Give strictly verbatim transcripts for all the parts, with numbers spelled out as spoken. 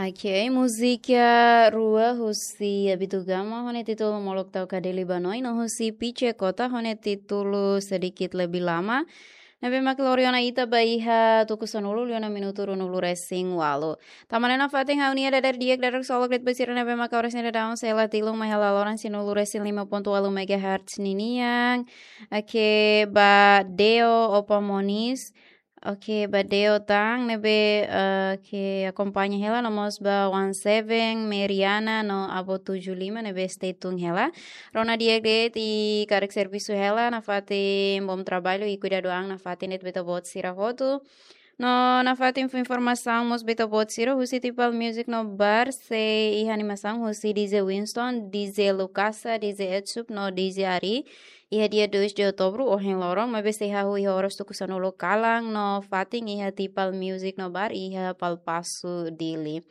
Ok, múzika rua husi Abdul Gama ho nia títulu Molok Tau Kadeli Banoi no husi Pice Kota ho nia títulu Sedikit Lebih Lama. Ne'ebé mak lori ona ita ba iha tuku sanulu liu ona minutu ruanulu resin ualu. Tan ne'e nafatin ha'u-nia dadeer di'ak dadeer ksolok de'it ba sira ne'ebé mak oras ne'e daudaun sei la tilun mai hela loron sanulu-resin-lima pontu ualu megahertz ninian. Ok, ba Deo Opa Monis. Ok, ba Deo tan ne'ebé, eh, ke akompaña hela, no mós ba One Seven, Meriana, no Abo Tujuh Lima ne'ebé stay tune hela. Rona di'ak de'it i karik servisu hela, nafatin bom trabalho i kuidadu an nafatin de'it ba ita-boot sira hotu. No nafatin fó informasaun mós ba ita-boot sira husi Tipal Music no Bar sei iha animasaun husi D J Winston, D J Lucasa, D J Etsup no D J Ari. Iha dia dois de outubro, ohin loron, maibé sei hahú iha oras tuku sanulu kalan no fatin iha Tipal Music no Bar iha Palpasu Dili.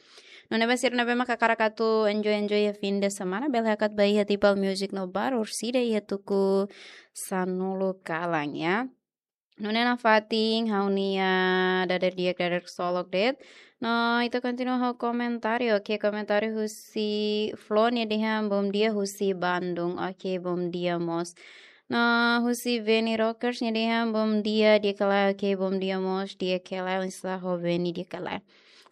Nune'e ba sira ne'ebé mak hakarak atu enjoy-enjoy iha fim de semana, bele hakat ba iha Tipal Music no Bar, orsida iha tuku sanulu kalan, ya. Nune'e nafatin ha'u-nia dadeer di'ak dadeer ksolok de'it. No, ita kontinua ho komentáriu. Ok, komentáriu husi Flo nia dehan bom dia husi Bandung. Ok, bom dia mós. No, husi Veni Rockers nia dehan bom dia di'ak ka lae. Ok, bom dia mós di'ak ka lae. Oinsá ho Veni, di'ak ka lae?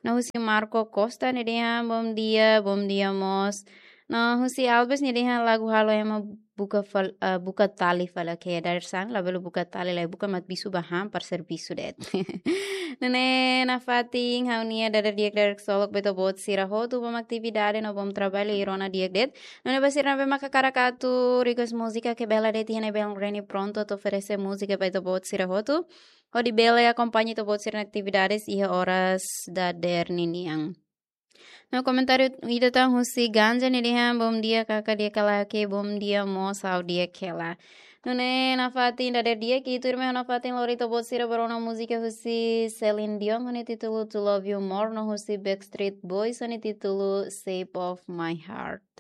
No, husi Marco Costa nia dehan bom dia, bom dia mós. No, husi Albes nia dehan lagu halo ema buka fal-, eh, buka tali fali. Ok, dadeer-saan labele buka tali, lae buka mat bisu ba han para servisu de'it. Nune'e nafatin ha'u-nia dadeer di'ak dadeer ksolok ba ita-boot sira hotu, bom atividade no bom trabalho i rona di'ak de'it. Nune'e ba sira ne'ebé mak hakarak atu request múzika, ke bele de'it iha ne'ebé Reni prontu atu oferese múzika ba ita-boot sira hotu. Hodi bele akompaña ita-boot sira-nia atividades iha oras dadeer ninian. No, komentáriu ida tan husi Ganja nia dehan bom dia kaka, di'ak ka lae? Ok, bom dia mós, ha'u di'ak hela. Nune'e nafatin dadeer di'ak, i tuirmai ha'u nafatin lori ita-boot sira ba rona múzika husi Celine Dion ho nia títulu To Love You More no husi Backstreet Boys ho nia títulu Shape of My Heart.